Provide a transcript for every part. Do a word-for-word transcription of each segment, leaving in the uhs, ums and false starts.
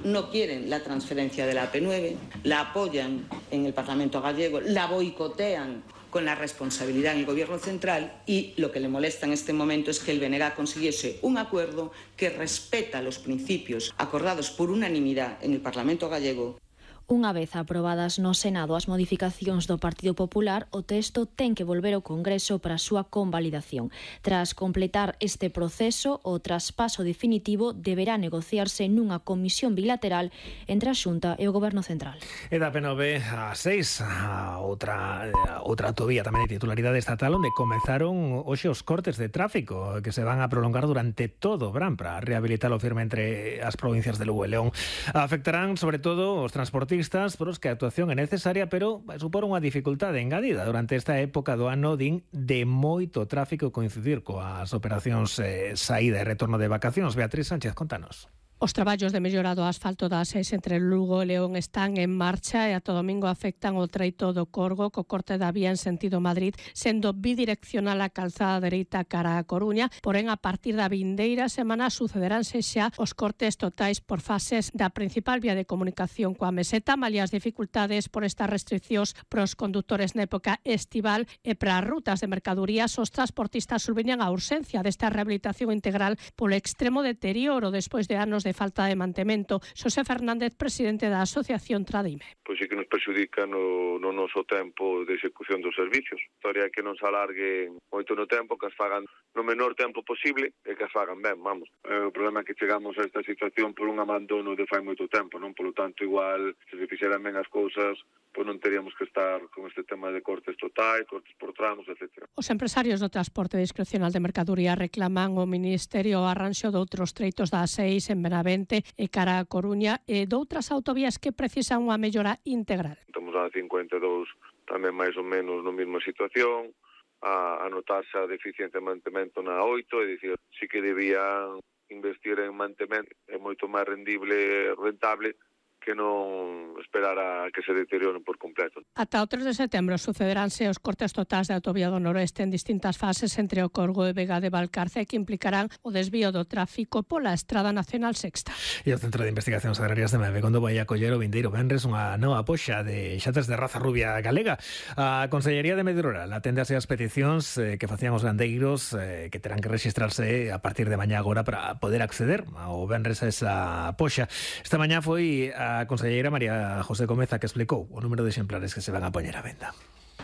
no quieren la transferencia de la A P nueve, la apoyan en el Parlamento gallego, la boicotean con la responsabilidad en el Gobierno central, y lo que le molesta en este momento es que el B N G consiguiese un acuerdo que respeta los principios acordados por unanimidad en el Parlamento gallego. Unha vez aprobadas no Senado as modificacións do Partido Popular, o texto ten que volver ao Congreso para a súa convalidación. Tras completar este proceso, o traspaso definitivo deberá negociarse nunha comisión bilateral entre a Xunta e o Goberno Central. E da P nove a seis, a outra, a outra autovía tamén de titularidade estatal, onde comenzaron hoxe os cortes de tráfico que se van a prolongar durante todo o verán para rehabilitar o firme entre as provincias de Lugo e León. Afectarán sobre todo os transportistas, por os que a actuación é necesaria, pero vai supor unha dificultade engadida durante esta época do ano, din, de moito tráfico coincidir coas operacións eh, saída e retorno de vacacións. Beatriz Sánchez, contanos. Os traballos de mellora do asfalto da A seis entre Lugo e León están en marcha e ata domingo afectan o treito do Corgo co corte da vía en sentido Madrid, sendo bidireccional a calzada dereita cara a Coruña, porén a partir da vindeira semana sucederánse xa os cortes totais por fases da principal vía de comunicación coa Meseta, malia as dificultades por estas restriccións pros condutores na época estival, e para as rutas de mercadorías os transportistas sublinhan a urxencia desta rehabilitación integral polo extremo deterioro despois de anos de falta de mantemento. Xosé Fernández, presidente da Asociación Tradime. Pois sí que nos perxudica no, no noso tempo de execución dos servicios. A historia é que non se alargue moito no tempo, que as fagan no menor tempo posible e que as fagan ben, vamos. O problema é que chegamos a esta situación por un abandono de fai moito tempo, non? Polo tanto, igual, se se fixeran ben as cousas, pois non teríamos que estar con este tema de cortes totais, cortes por tramos, etcétera. Os empresarios do transporte discrecional de mercadoría reclaman ao Ministerio o arranxo de outros treitos da A seis en Benavente e cara a Coruña e doutras autovías que precisan unha mellora integral. Estamos a cincuenta e dous tamén máis ou menos na mesma situación, a, a notarse a deficiencia de mantemento na oito, é dicir, sí que debían investir en mantemento, é moito máis rendible e rentable que non esperar a que se deterioren por completo. Ata o tres de setembro sucederánse os cortes totais da autovía do Noroeste en distintas fases entre o Corgo e Vega de Valcarce, que implicarán o desvío do tráfico pola Estrada Nacional Sexta. E o Centro de Investigacións Agrarias de Mevegondo vai acoller o vindeiro venres unha nova poxa de xatas de raza rubia galega. A Consellería de Medio Rural atende as peticións eh, que facían os gandeiros eh, que terán que registrarse a partir de mañá agora para poder acceder ao venres a esa poxa. Esta mañá foi a a conselleira María José Gómez a que explicou o número de exemplares que se van a poñer á venda.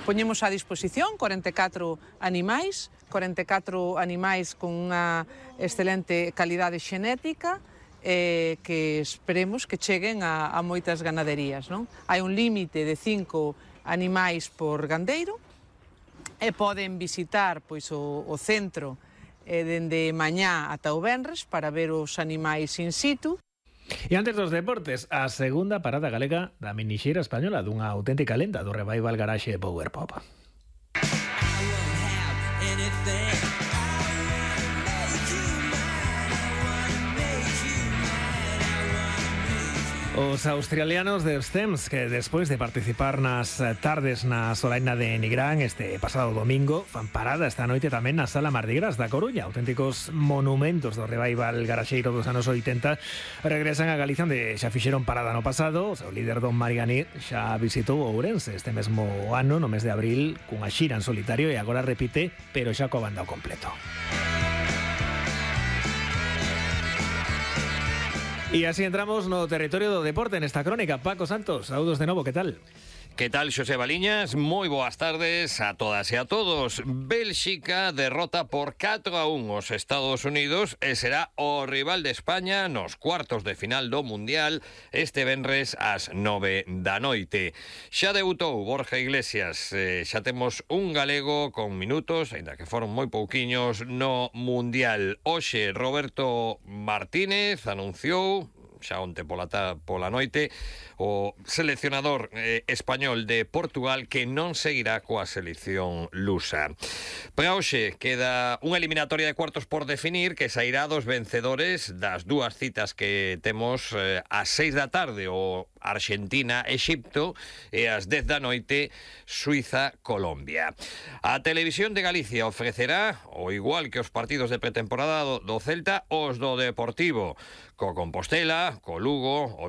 Poñemos a disposición cuarenta e catro animais, cuarenta e catro animais con unha excelente calidade xenética, eh, que esperemos que cheguen a, a moitas ganaderías, non? Hai un límite de cinco animais por gandeiro e poden visitar pois o, o centro eh, dende mañá ata o venres para ver os animais in situ. E antes dos deportes, a segunda parada galega da minixeira española dunha auténtica lenda do Revival Garage Power Pop. Os australianos de Stems, que despois de participar nas tardes na solaina de Nigrán este pasado domingo, fan parada esta noite tamén na Sala Mardi Gras da Coruña. Auténticos monumentos do Revival garaxeiro dos anos oitenta regresan a Galicia, onde xa fixeron parada no pasado. O seu líder Don Mariani xa visitou Ourense este mesmo ano, no mes de abril, cunha xira en solitario, e agora repite, pero xa coa banda ao completo. E así entramos no territorio do deporte nesta crónica. Paco Santos, saúdos de novo, que tal? Que tal, Xosé Baliñas? Moi boas tardes a todas e a todos. Bélxica derrota por catro a un os Estados Unidos e será o rival de España nos cuartos de final do Mundial este venres ás nove da noite. Xa debutou Borja Iglesias, eh, xa temos un galego con minutos, aínda que foron moi pouquiños, no Mundial. Hoxe Roberto Martínez anunciou xa onte pola, ta, pola noite o seleccionador eh, español de Portugal que non seguirá coa selección lusa. Para hoxe queda unha eliminatoria de cuartos por definir que sairá dos vencedores das dúas citas que temos eh, ás seis da tarde, o Argentina-Exipto, e ás dez da noite Suiza-Colombia. A Televisión de Galicia ofrecerá, ao igual que os partidos de pretemporada do, do Celta, os do Deportivo, co Compostela, co Lugo,